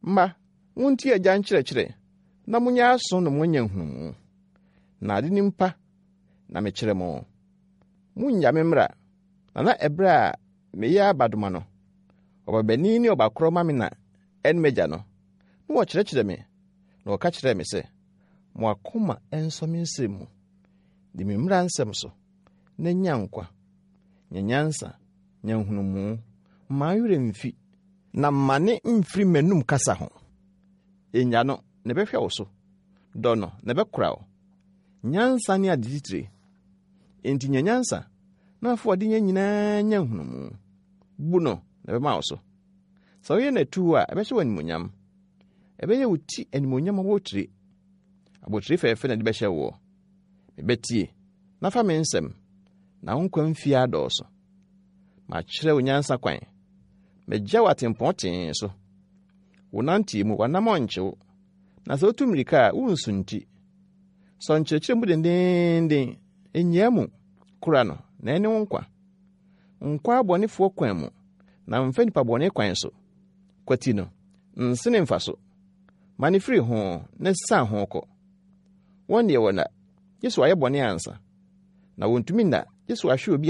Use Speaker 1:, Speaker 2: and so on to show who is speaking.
Speaker 1: Mma, muntie agya nkyerɛkyerɛ, na monyɛ aso na moanya nhunumu. Na ade nim pa na mekyerɛ mo. Munnya me mmara, na na ɛberɛ a meyɛ abadoma no, ɔbabanin ne ɔbakorɔ ma me na ɛne m'agya no, na wɔkyerɛkyerɛ me, na wɔka kyerɛɛ me sɛ, Mo akoma nsɔ me nsɛm mu, di me mmara nsɛm so, na nya nkwa. Nya nyansa, nya nhunumu, mma wo werɛ mfi, na mmane mfiri m'anom kasa ho. Nnya no, na ɛbɛhwɛ wo so. Dɔ no, na ɛbɛkora wo. Nyansa ne ade titire. Enti nya nyansa, na fa w'adenya nyinaa nya nhunumu. Bu no, na ɛbɛma wo so. Sɛ woyɛ no atuu a, ɛbɛhyɛ wo animuonyam. Ɛbɛyɛ wo ti animuonyam abotire. Abotire fɛɛfɛ na ɛde bɛhyɛ woɔ. Me ba tie, na fa me nsɛm, na wo nkwa mfie adɔɔso. Makyerɛ wo nyansa kwan. Magya wo atempɔn tee so. Wo nanteɛ mu, w'anammɔn nkye wo, na sɛ wotu mmirika a, worensunti. Sɔ nkyerɛkyerɛ mu dendeenden, nnyaa mu, kora no, na ɛne wo nkwa. Nkɔ abɔnefoɔ kwan mu, na mfa nnipa bɔne kwan so. Kwati no, nsene mfa so. Mane firi ho, na siane ho kɔ. Wɔn deɛ wɔnna, gye sɛ wɔayɛ bɔne ansa, na wɔntumi nna, gye sɛ wɔahwe obi.